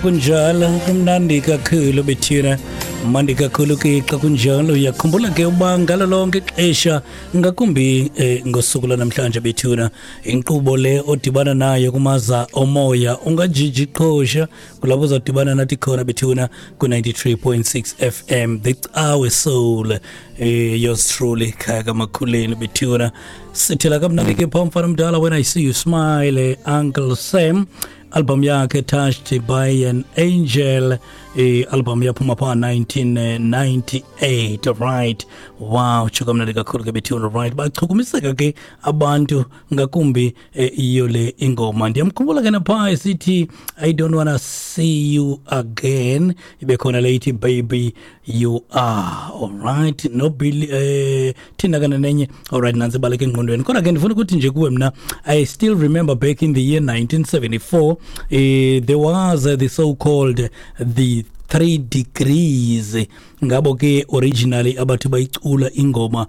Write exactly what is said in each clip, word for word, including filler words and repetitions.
Kunjalo, kumnandi kakhulu bethina, mandi kakhulu ke xa kunjalo. Uyakhumbula ke uba ngalo lonke ixesha, ngakumbi eh, ngosuku lwanamhlanje bethuna, inkqubo le odibana nayo kumaza omoya ungajiji qhosha, kulapho uzawudibana nathi khona bethuna ku-ninety-three point six F M, The Cawe Soul, eh, yours truly Khaya Kamakhuleni bethuna. Sithela kamnandi ke phaa, mfana mdala, "When I See You Smile", eh, Uncle Sam, album yakhe "Touched by an Angel", eh album yaphuma pha nineteen ninety-eight. Right, wow, tsho kamnandi kakhulu ke bethuna. Right, bachukumiseka ke abantu ngakumbi eh, iyo le ingoma. Ndiyamkhumbula ke napha esithi "I Don't Wanna See You Again", ibe khona le ithi "Baby You Are Alright", no Billy eh thina kana nenye. Alright, nansi baleke engqondweni, kodwa ke ndifuna ukuthi nje kuwe mna, I still remember back in the year nineteen seventy-four, eh, there was uh, the so called the Three Degrees. Ngabo ke originally abathi bayicula ingoma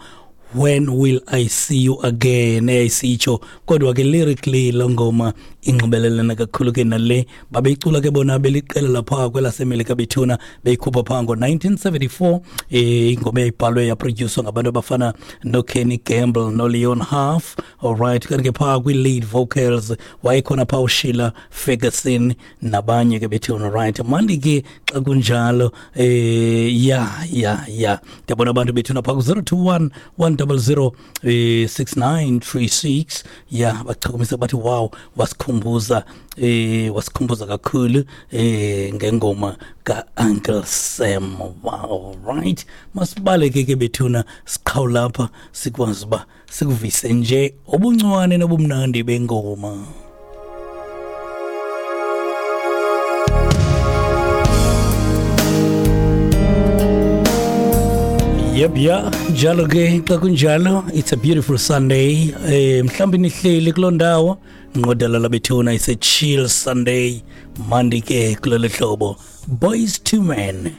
"When Will I See You Again" eyayisitsho, kodwa ke lyrically lo ngoma inxibelelana kakhulu ke nale babeyicula ke bona beliqela lapha kwelasemelika bethuna, beyikhupha phaa ngo-nineteen seventy-four. eh ingoma eyayibhalwe yaproducwa ngabantu abafana noKenny Gamble noLeon Huff. Alright, kanti ke phaa kwi-lead vocals wayekhona phaa uSheila Ferguson nabanye ke bethuna. Right, mandi ke xa kunjalo. eh ya ya ya ndiyabona abantu bethuna phaa ku-zero two one one zero zero eh six nine three six, ya, bachukumisa bathi wow, wasikhumbuza eh wasikhumbuza kakhulu eh ngengoma ka-Uncle Sam. Wow, right, masibaleke ke bethuna, siqhawula lapha sikwazi uba sikuvise nje obuncwane nobumnandi bengoma. Yep, ya, njalo ke xa kunjalo, it's a beautiful Sunday. Eh mhlawumbi nihleli kuloo ndawo nqodala bethuna, it's a chill Sunday. Mandi ke kulolu hlobo, Boyz two Men.